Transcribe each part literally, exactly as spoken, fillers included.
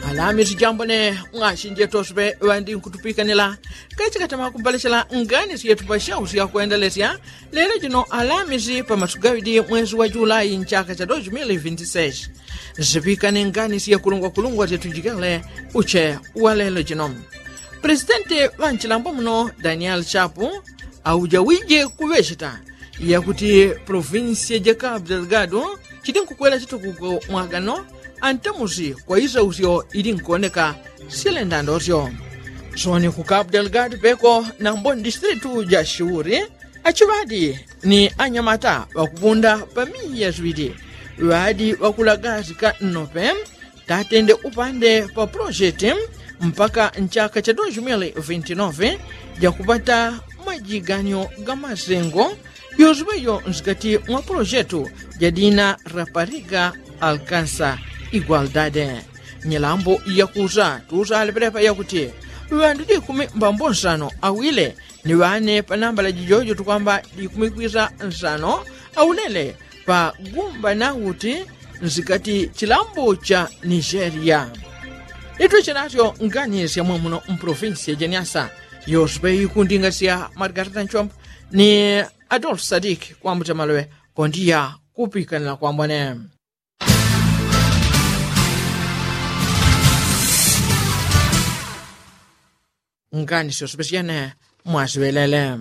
Alamisi jambo ne mwasinjeto supe ŵandinkutupikanyila kachikatama kubalechela ngani syetu pasyausya kwendelesya lelo jino alamisi pa masugawidi mwezi wa julai nchaka cha dos mili vinti seis. Zipikane ngani syekulungwakulungwa syetu jikele uche wa lelo jino. Presidenti ŵanchilambo muno daniel chapu aujawije kuŵechita yakuti provinsia ja kapu delgado chidinkukwela chitukuko mwagano antamusi kwa isausyo idinkuoneka silendandosyo. Soni ku kapu delgado peko nambo ndistritu ja shiuri achiŵadi ni anyamata ŵakupunda pa miya ziŵidi ŵadi ŵakulagasika nnope tatende upande pa pulojeti mpaka nchaka cha dos mili vinti nove jakupata majiganyo ga masengo yosuŵeyo nsikati mwa pulojeti jadina rapariga alkansa igualdade. Nyilambo yakusa tusa alepelepa yakuti ŵandu dikumi mbambo nsano awile ni ŵane pa nambala jijojo tukwamba dikumi kwisa nsano aulele pa gumba nauti nsikati chilambo cha nigeria. Itwe chinasyo ngani sya mwamuno mpolofinsi ya janiasa yosupe ikundinga sya margarita nchombo ni adolf sadik kwambuta maloŵe kondiya kupikanila kwambone. Ngani syosupe syene mwasiŵelele.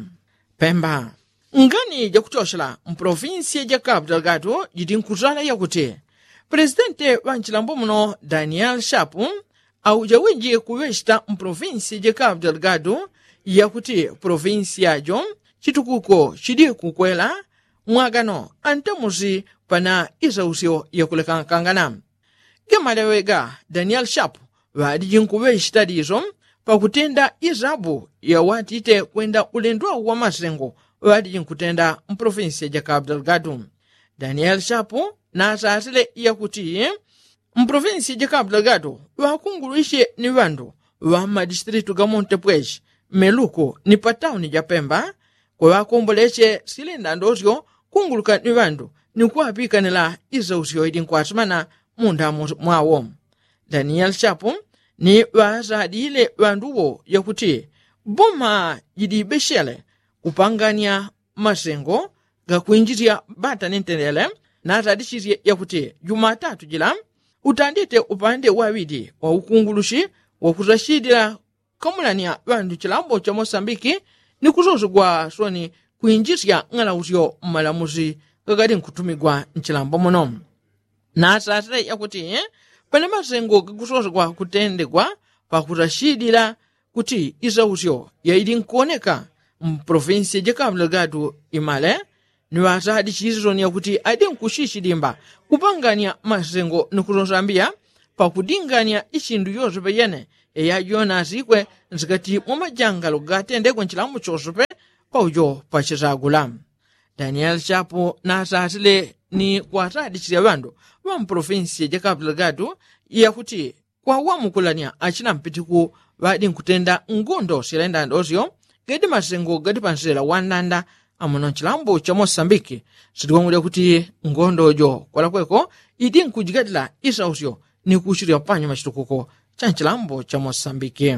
Pemba. Ngani jakutyoshela mpolofinsi ja kapu delgado jidinkusala yakuti presidenti ŵanchilambo muno daniel shapu aujawije kuŵechita mpolofinsi ja kapu delgado yakuti polofinsi yajo chitukuko chidikukwela mwagano antamusi pana isausyo yakulekankangana. Gemaleŵe ga daniel shapu ŵadijinkuŵechita diso pakutenda isabu yawatite kwenda ulendo wawo wamasengo ŵadiji nkutenda mpolofinsi ja kapu delgado. Daniel shapu nasasile yakuti mpolofinsi ja kapu delgado ŵakungulwisye ni ŵandu ŵa mmadistritu ga montepweshi meluku ni patauni ja pemba kweŵakombolesye silenda ndosyo kunguluka ni ŵandu ni kuŵapikanila isausyo idinkuwasimana mundamu mwawo. Daniel shapu ni ŵasadile ŵandu wo yakuti boma jidibeshele kupanganya masengo gakwinjisya bata ni ntendele nasadisisye yakuti jumatatu jila utandite upande waŵidi wa ukungulushi wakusashidila kamulanya ŵandu chilambo cha mosambiki ni kusosegwa soni kwinjisya ng'alausyo mmalamusi gakadi nkutumigwa nchilambo muno. Nasasile yakuti pane masengo gakusosegwa kutendegwa pakusashidila kuti isausyo yaidi nkuoneka mpolofinsi ja kapu delgado imale ni ŵasadi chisoni yakuti adi nkushishi dimba kupanganya masengo ni kusosambia pakudinganya isindu yosepe yene eyajonasikwe nsikati mwa majangalo gatendekwe nchilambo chosepe paujo pachisagula. Daniel chapu nasasile ni kwasadi chisya ŵandu ŵa mpolofinsi ja kapu delgado yakuti kwawamukulanya achina mpitiku ŵadi nkutenda ngondo silenda ndosyo gadi masengo gadi pansela wandanda amuno nchilambo cha mosambiki. Sitikwangulya kuti ngondo jo kwalakweko idi nkujigadila isausyo ni kuchilya panyuma chitukuko cha nchilambo cha mosambiki.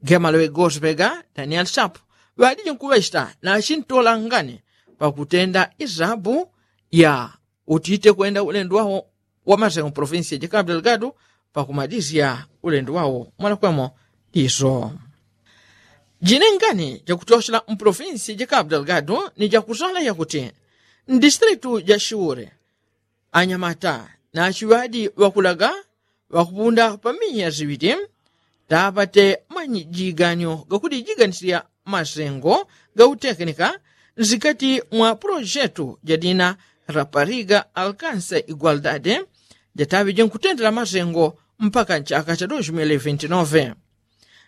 Gemaloŵe gosipega daniel shapu ŵadiji nkuŵechita nachintola ngani pakutenda isabu ya utite kwenda ulendo wawo wamasengo provinsi ja kapu delgado pakumadisya ulendo wawo mwalakwemo diso. Jinengani jakutyoshela mpolofinsi ja kapu delgado ni jakusala yakuti mdistritu ja shiure anyamata nachiŵadi ŵakulaga ŵakupunda pa miya ziŵidi tapate majiganyo gakudijiganisya masengo gautekenika nsikati mwa pulojetu jadina rapariga alkanse igualdade jataŵe jinkutendela masengo mpaka nchaka cha dos mili vinti nove.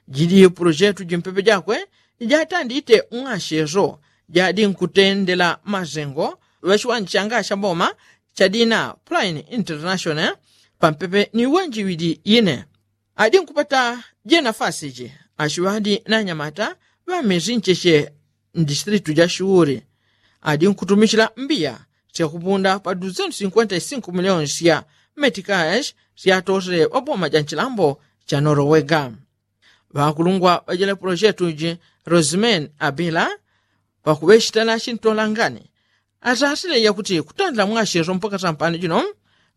Jidi pulojetu jimpepe jakwe jatandite ng'asyeso jadi nkutendela masengo ŵachiwanja changa cha boma chadina prine international pampepe ni wenjiwidi ine. Adi nkupata jenafasi ji achiŵadi na anyamata ŵa mezi ncheche mdistritu ja shiuri adi nkutumichila mbiya syakupunda pa duzentu sinkwenta isinko miliyoni sya metikashi syatosele ŵa boma ja nchilambo cha norowega. Ŵakulungwa ŵa jila pulojetu ji, roseman abila, pakuŵechita na chintolangani, asasile yakuti kutandila mwacheso mpaka sampano jino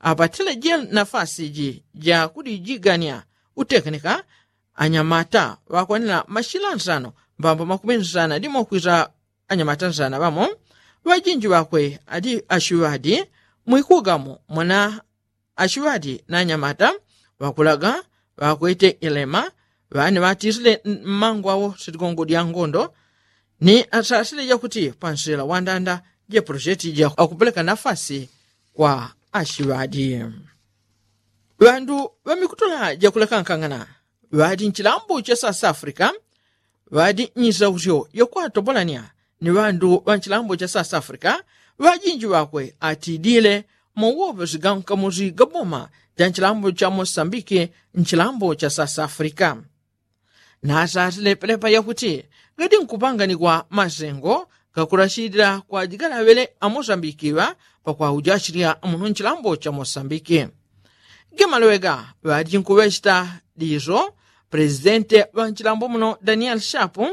apatile jila nafasi ji ja kudijigania utekenika anyamata ŵakwanila mashila nsano mbambo makumi nsana dimo kwisa anyamata nsana ŵamo. Ŵajinji ŵakwe adi ashiŵadi mwikugamo mwana ashiŵadi na anyamata ŵakulaga ŵakwete ilema ŵani ŵatisile mmangu awo sitigongo dya ngondo. Ni asasile jakuti pansila wandanda ja pulojetu ja akupeleka nafasi kwa ashiŵadi. Ŵandu ŵamikutula jakulekankangana ŵadi nchilambo cha south africa ŵadi nyisausyo yakwatobolania ni ŵandu ŵa nchilambo cha south africa. Ŵajinji ŵakwe atidile mauwoŵesi ga nkamusi ga boma ja nchilambo cha mosambiki nchilambo cha south africa. Nasasile pelepa yakuti ghadi nkupanganikwa masengo gakulachilila kwa jigalaŵele amosambikiŵa pakwaujasilya muno nchilambo cha mosambiki. Gemaloŵega ŵadi nkuŵechita diso pulesidente ŵa nchilambo muno daniel shapu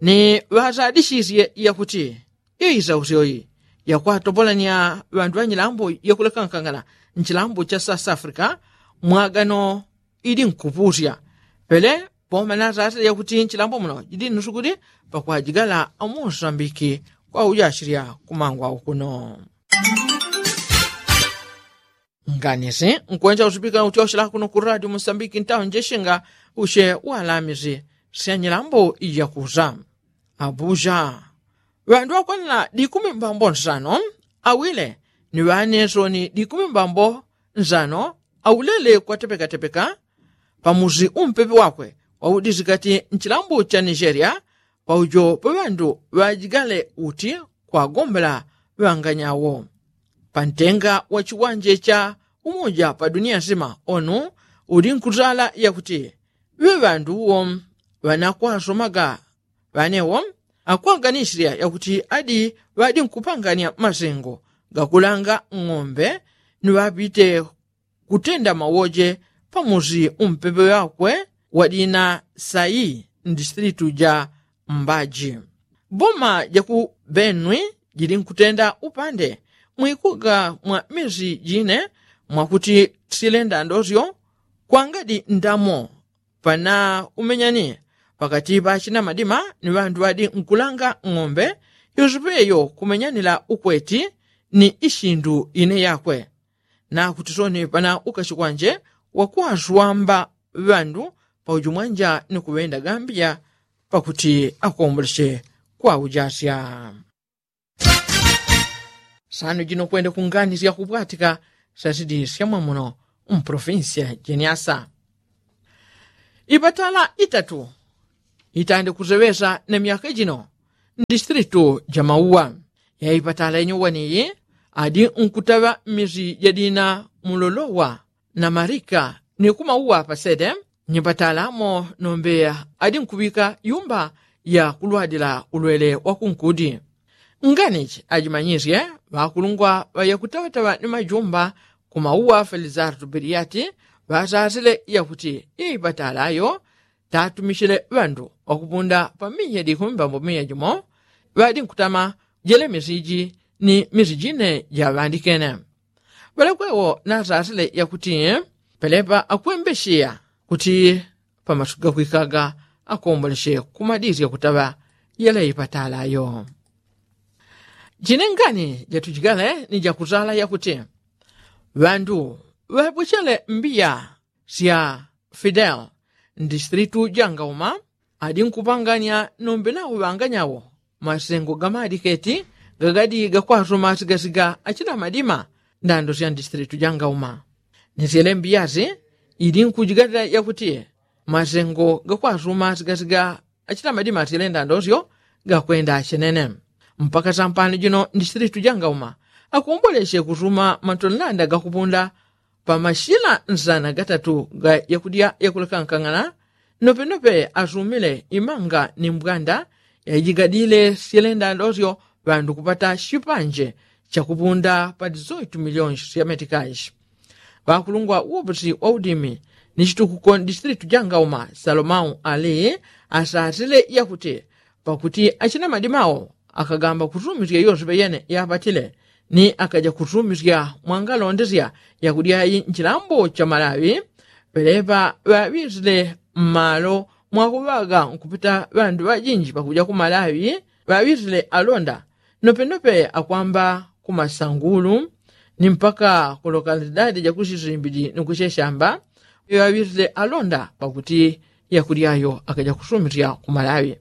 ni ŵasadisisye yakuti iisausyo ii yakwatobolania ŵandu ŵa nyilambo yakulekankangana nchilambo cha south africa mwagano ili nkupusya. Pele boma nasasile yakuti nchilambo muno jidi nusukuli pakwajigala amosambiki kwaujachilya kumangwa ukuno. Nganisi nkwenja usipika utyoshela kuno ku radio mosambiki ntawo njeshinga ushe walamisi sya nyilambo ijakusa. Abuja ŵandu ŵakwanila dikumi mbambo nsano awile ni ŵanesoni dikumi mbambo nsano aulele kwatepekatepeka pamusi umpepe wakwe waudisi kati nchilambo cha nigeria paujo pa ŵandu ŵajigale uti kwagombela ŵanganyawo. Pantenga wa chiwanje cha umoja pa dunia nsima onu uli nkutala yakuti ŵe ŵandu uwo ŵanakwasomaga ŵanewo akwaganisirya yakuti adi ŵadi nkupangania masengo gakulanga ng'ombe ni ŵapite kutenda mawoje pamusi umpepe ŵakwe wadina sayi mdistritu ja mbaji. Boma jaku benwi jili nkutenda upande mwikuga mwa misi jine mwakuti sile ndandosyo kwangadi ndamo pana umenyani pakati pa achina madima ni ŵandu ŵadi nkulanga ng'ombe yosepeyo kumenyanila ukweti ni ishindu ine yakwe. Nakuti soni pana ukashi kwanje wakwaswamba ŵandu pauju mwanja ni kuŵenda gambiya pakuti akomboleshe kwaujasya. Sano jino kwenda kunganisya kupwatika sasidi syamwamuno mpolofinsiya jeniasa. Ipatala itatu itande kuseŵesa na myaka jino mdistritu ja mauwa. Yaipatala yenye waniyi adi nkutaŵa mmisi jadina mulolowa na marika ni kumauwa pasede nyipatala mo nombe adi nkuŵika yumba ya kulwadila ulwele wa kunkudi. Nganichi ajimanyisye ŵakulungwa ŵayakutaŵataŵa ni majumba kumauwa felizartu biliati ŵasasile yakuti ipatala yo tatumichile ŵandu ŵakupunda pa miya dikumi mbambo miya jimo ŵadi nkutama jele misi iji ni misi jine jaŵandikene. Ŵalekwewo nasasile yakuti pelepa akwembesheya kuti pamasuku gakwikaga akomboleshe kumadisya kutaŵa yele ipatala yo. Jine ngani jatujigale ni jakutala yakuti ŵandu ŵapwechele mbiya sya fidel mdistritu ja ngauma adi nkupanganya nombe nawo ŵanganyawo masengo gamadiketi gagadi gakwasuma sigasiga achina madima ndando sya mdistritu ja ngauma. Ni syele mbiya si idi nkujigalila yakuti masengo gakwasuma sigasiga achina madima syele ndando syo gakwenda chenene. Mpaka sampano jino mdistritu ja ngauma akomboleshe kusuma matonlanda gakupunda pa mashila nsana gatatu ga yakudya yakulekankang'ana. Nopenope asumile imanga ni mbwanda yajigadile syelenda ndosyo ŵandu kupata shipanje chakupunda pa dizoitu milionshi sya metikashi. Ŵakulungwa woposi wa udimi ni chitukuko ndistritu jangauma salomau ali asasile yakuti pakuti achina madimao akagamba kutumisya yose peyene yapatile ni akaja kutumisya mwangalondesya yakudyayi nchilambo cha malawi. Pelepa ŵaŵisile mmalo mwakuŵaga nkupita ŵandu ŵajinji pakuja ku malawi ŵaŵisile alonda nopenope akwamba ku masangulu ni mpaka ku lokalidadi jakusisimbi ni kucheshamba ŵaŵisile alonda pakuti yakudyayo akaja kusumisya ku malawi.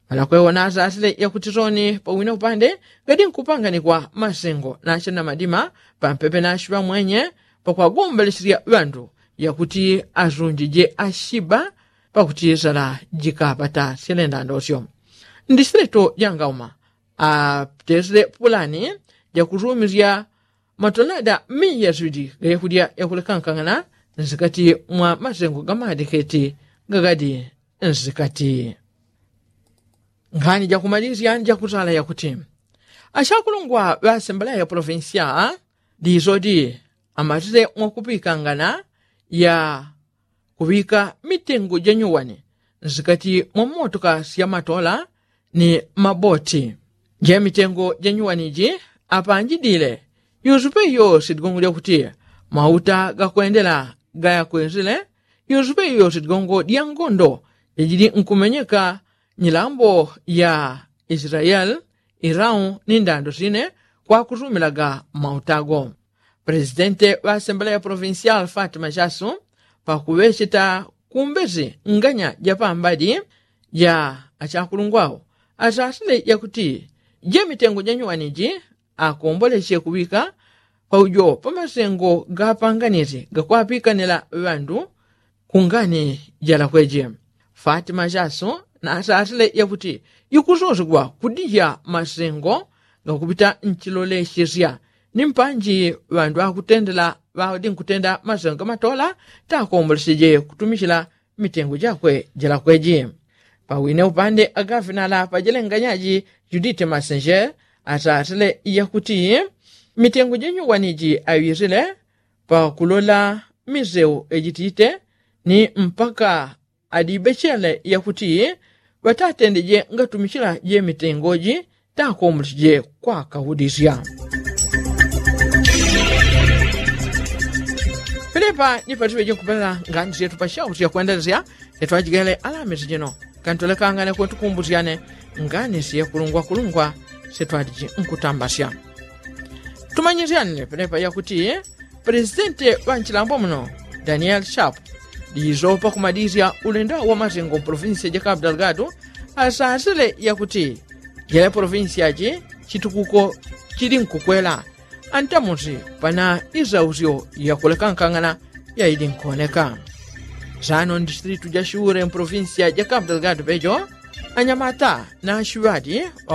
Malakwewo nasasile yakuti soni pawine upande gadi nkupanganikwa masengo nache na madima pampepe nachiŵa mwenye pakwagombolesya ŵandu yakuti asunjije ashiba pakuti sala jikapata silendandosyo. Ndisileto jangauma atesile pulani jakusumisya matonada miya swidi gayakudya yakulekankang'ana nsikati mwa masengo gamadiketi gagadi nsikati. Nkhani jakumalisya ni jakusala yakuti achakulungwa ŵa asembleya provinsya disodi amatile mwakupikangana ya kuŵika mitengo janyuwani nsikati mwa motoka sya matola ni maboti. Je mitengo janyuwani ji apanjidile yusupe iyo sidigongo lyakuti mauta gakwendela gayakwezile yusupe iyo sidigongo dya ngondo jajidi nkumenyeka nyilambo ya israeli irau ni ndando sine kwakusumilaga mauta go. Presidente ŵa asembleya provincial fatima chasu pakuŵecheta kumbezi nganya japambadi ja achakulungwao asasile yakuti je mitengo janyuwani ji akomboleche kuŵika paujo pamasengo gapanganizi gakwapikanila ŵandu kungani jalakweje. Fatima chasu nasasile yakuti ikusosegwa kudija masengo gakupita nchilolechesya ni mpanji ŵandu akutendela ŵadi nkutenda masengo gamatola takomboleseje kutumichila mitengo jakwe jilakweji. Pawine upande agafinala pajilenganyaji judite masenje asasile yakuti mitengo janyuwani ji aŵisile pakulola miseu ejitite ni mpaka adibechele yakuti ŵatatendeje ngatumichila je mitengo ji takomboleseje kwakaudisya. Pelepa ni patiŵeje nkupelela ngani syetu pashauti yakwendelesya syetu ajigele alamisi jino kantolekangane kwetukumbusyane ngani syekulungwakulungwa syetu adiji nkutambasya. Tumanyisyanile pelepa yakuti presidente ŵa nchilambo muno daniel sharp diisopa kumadisya ulendo wa masengo provinsia ja kapu delgado asasile yakuti jele provinsia ji chitukuko chili nkukwela antamusi pana isausyo yakulekankang'ana yaili nkuoneka. Sano ndisitilitu ja shure mprovinsia ja kapu delgado pejo anyamata na ashiŵadi